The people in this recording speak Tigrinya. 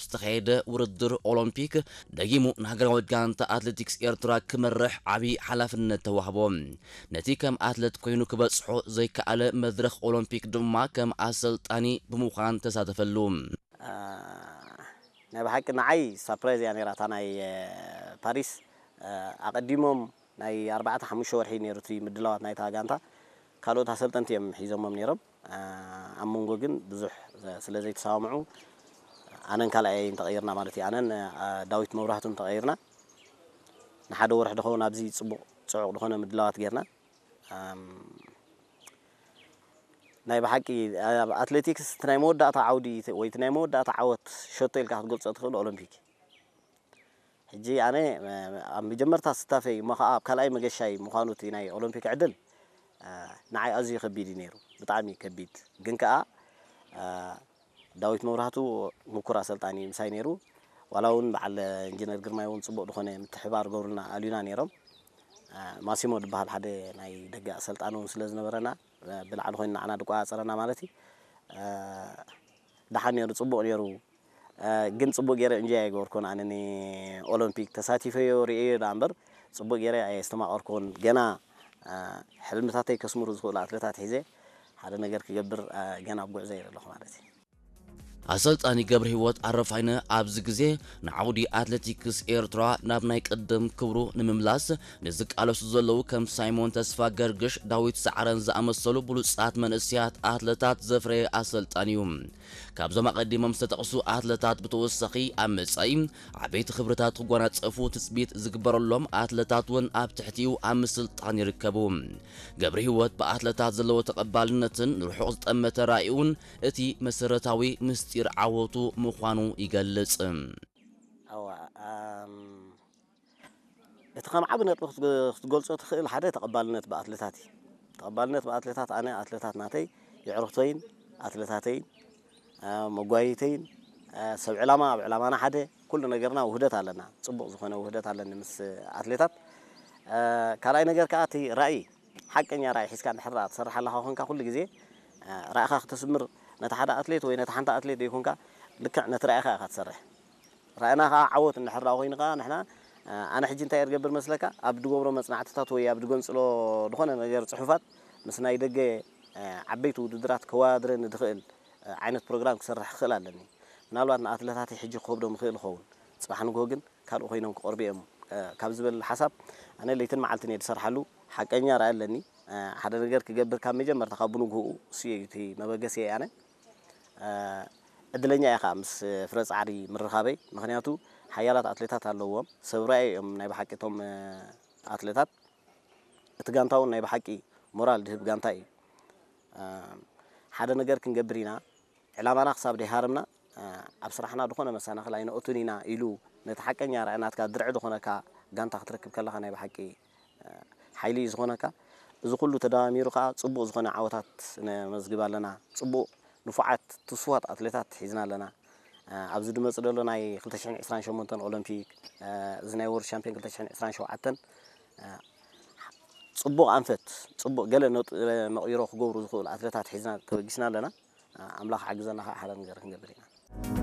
ዝተኻየደ ውድድር ኦሎምፒክ ደጊሙ ንሃገራዊት ጋንታ ኣትሌቲክስ ኤርትራ ክመርሕ ዓብዪ ሓላፍነት ተዋህቦ። ነቲ ከም ኣትለት ኮይኑ ክበጽሖ ዘይከኣለ መድረኽ ኦሎምፒክ ድማ ከም ኣሰልጣኒ ብምዃን ተሳተፈሉ። ናይ ብሓቂ ንዓይ ሳፕራይዝ እያ ነይራ እታ ናይ ፓሪስ። ኣቐዲሞም ናይ ኣርባዕተ ሓሙሽተ ወርሒ ነይሩ እቲ ምድላዋት ናይታ ጋንታ። ካልኦት ኣሰልጠንቲ እዮም ሒዞሞም ነይሮም። ኣብ መንጎ ግን ብዙሕ ስለ ዘይተሰማምዑ ኣነን ካልኣየይን ተቐይርና ማለት እዩ። ኣነን ዳዊት መብራህቱን ተቐይርና። ንሓደ ወርሒ ዝኸውን ኣብዚ ፅቡቕ ፅዑቕ ዝኾነ ምድላዋት ጌርና። ናይ ብሓቂ ኣብ ኣትሌቲክስ እቲ ናይ መወዳእታ ዓውዲ ወይ እቲ ናይ መወዳእታ ዓወት ሸቶ ኢልካ ክትገልፆ ትኽእል ኦሎምፒክ። ሕጂ ኣነ ኣብ መጀመርታ ስታፈይ እሞ ከዓ ኣብ ካልኣይ መገሻይ ምዃኑ እቲ ናይ ኦሎምፒክ ዕድል ንዓይ ኣዝዩ ከቢድ እዩ ነይሩ፣ ብጣዕሚ ከቢድ። ግን ከዓ ዳዊት መብራህቱ ምኩር ኣሰልጣኒ ምሳይ ነይሩ። ዋላ እውን በዓል ኢንጂነር ግርማይ እውን ፅቡቕ ዝኾነ ምትሕባር ገብሩልና ኣልዩና ነይሮም። ማሲሞ ዝበሃል ሓደ ናይ ደገ ኣሰልጣኒ እውን ስለ ዝነበረና ብላዕሊ ኮይኑ ንዓና ድቆፃፀረና ማለት እዩ። ደሓን ነይሩ፣ ፅቡቕ ነይሩ። ግን ፅቡቕ ገይረ እንጆይ ኣይገበርኩን። ኣነ ንኦሎምፒክ ተሳቲፈዮ ርእየዮ ደኣ እምበር ፅቡቕ ገይረ ኣየስተማቐርኩን። ገና ሕልምታተይ ከስምሩ ዝኽእሉ ኣትሌታት ሒዘ ሓደ ነገር ክገብር ገና ኣብ ጉዕዞ እየ ዘለኹ ማለት እዩ። ኣሰልጣኒ ገብረ ህይወት ኣረፋይነ ኣብዚ ግዜ ንዓውዲ ኣትሌቲክስ ኤርትራ ናብ ናይ ቅድም ክብሩ ንምምላስ ንዝቃለሱ ዘለዉ ከም ሳይሞን ተስፋ ገርግሽ፣ ዳዊት ሰዓረን ዝኣመሰሉ ብሉጻት መንእሰያት ኣትለታት ዘፍረየ ኣሰልጣኒ እዩ። ካብዞም ኣቐዲሞም ዝተጠቕሱ ኣትለታት ብተወሳኺ ኣብ መጻኢ ዓበይቲ ክብርታት ክጓናጸፉ ትጽቢት ዝግበረሎም ኣትለታት እውን ኣብ ትሕቲኡ ኣብ ምስልጣን ይርከቡ። ገብረ ህይወት ብኣትለታት ዘለዎ ተቐባልነትን ንርሑቕ ዝጠመተ ራእይኡን እቲ መሰረታዊ ምስጢር ዓወቱ ምዃኑ ይገልጽ። እቲ ከም ዓቢ ነጥቢ ክትገልጾ ትኽእል ሓደ ተቐባልነት ብኣትለታት እዩ። ተቐባልነት ብኣትለታት ኣነ ኣትለታት ናተይ የዕሩኽተይን ኣትለታተይን መጓይተይን ሰብ ዕላማ ኣብ ዕላማና ሓደ ኩሉ ነገርና ውህደት ኣለና። ጽቡቕ ዝኾነ ውህደት ኣለኒ ምስ ኣትሌታት። ካልኣይ ነገር ከዓ እቲ ራእይ ሓቀኛ ራእይ ሒዝካ እንድሕር ደኣ ትሰርሕ ኣለኻ ኮንካ ኩሉ ግዜ ራእኻ ክተስምር ነቲ ሓደ ኣትሌት ወይ ነቲ ሓንቲ ኣትሌት ዘይኮንካ ልክዕ ነቲ ራእኻ ኢኻ ትሰርሕ። ራእና ከዓ ዓወት እንድሕር ደኣ ኮይኑ ከዓ ንሕና ኣነ ሕጂ እንታይ እየ ዝገብር መስለካ ኣብ ድገብሮ መፅናዕትታት ወይ ኣብ ድገንፅሎ ዝኾነ ነገር ፅሑፋት ምስ ናይ ደገ ዓበይቲ ውድድራት ከወዳድረኒ ዝኽእል ዓይነት ፕሮግራም ክሰርሕ ክኽእል ኣለኒ። ምናልባት ንኣትለታተይ ሕጂ ክኸብዶም ይኽእል ይኸውን፣ ፅባሕ ንግሆ ግን ካልእ ኮይኖም ክቐርቡ እዮም ካብ ዝብል ሓሳብ ኣነ ለይትን መዓልትን እየ ዝሰርሓሉ። ሓቀኛ ራኢ ኣለኒ። ሓደ ነገር ክገብር ካብ መጀመርታ ካብ ብንግህኡ እሱ እዩ እቲ መበገሲ ኣነ። ዕድለኛ እየ ከዓ ምስ ፍረ ፃዕሪ ምርኻበይ፣ ምክንያቱ ሓያላት ኣትሌታት ኣለዎም፣ ሰብ ራኢ እዮም ናይ ብሓቂ እቶም ኣትሌታት። እቲ ጋንታ እውን ናይ ብሓቂ ሞራል ድህብ ጋንታ እዩ። ሓደ ነገር ክንገብር ኢና፣ ዕላማና ክሳብ ደይሃረምና ኣብ ስራሕና ዝኾነ መሰናኽል ኣይነእቱን ኢና ኢሉ ነቲ ሓቀኛ ራኢ ናትካ ድርዒ ዝኾነካ ጋንታ ክትረክብ ከለኻ ናይ ብሓቂ ሓይሊ እዩ ዝኾነካ። እዚ ኩሉ ተደማሚሩ ከዓ ፅቡቕ ዝኾነ ዓወታት ነመዝግብ ኣለና። ፅቡቕ ንፉዓት ትስፉዋት ኣትሌታት ሒዝና ኣለና። ኣብዚ ዝመፅእ ዘሎ ናይ ክልተ ሽሕን ዕስራን ሸሞንተን ኦሎምፒክ፣ እዚ ናይ ወርልድ ሻምፒዮን ክልተ ሽሕን ዕስራን ሸውዓተን ፅቡቕ ኣንፈት፣ ፅቡቕ ገለ ነጥ- መቕይሮ ክገብሩ ዝኽእሉ ኣትሌታት ሒዝና ተበጊስና ኣለና። ኣምላኽ ሓግዘና ከዓ ሓደ ነገር ክንገብር ኢና።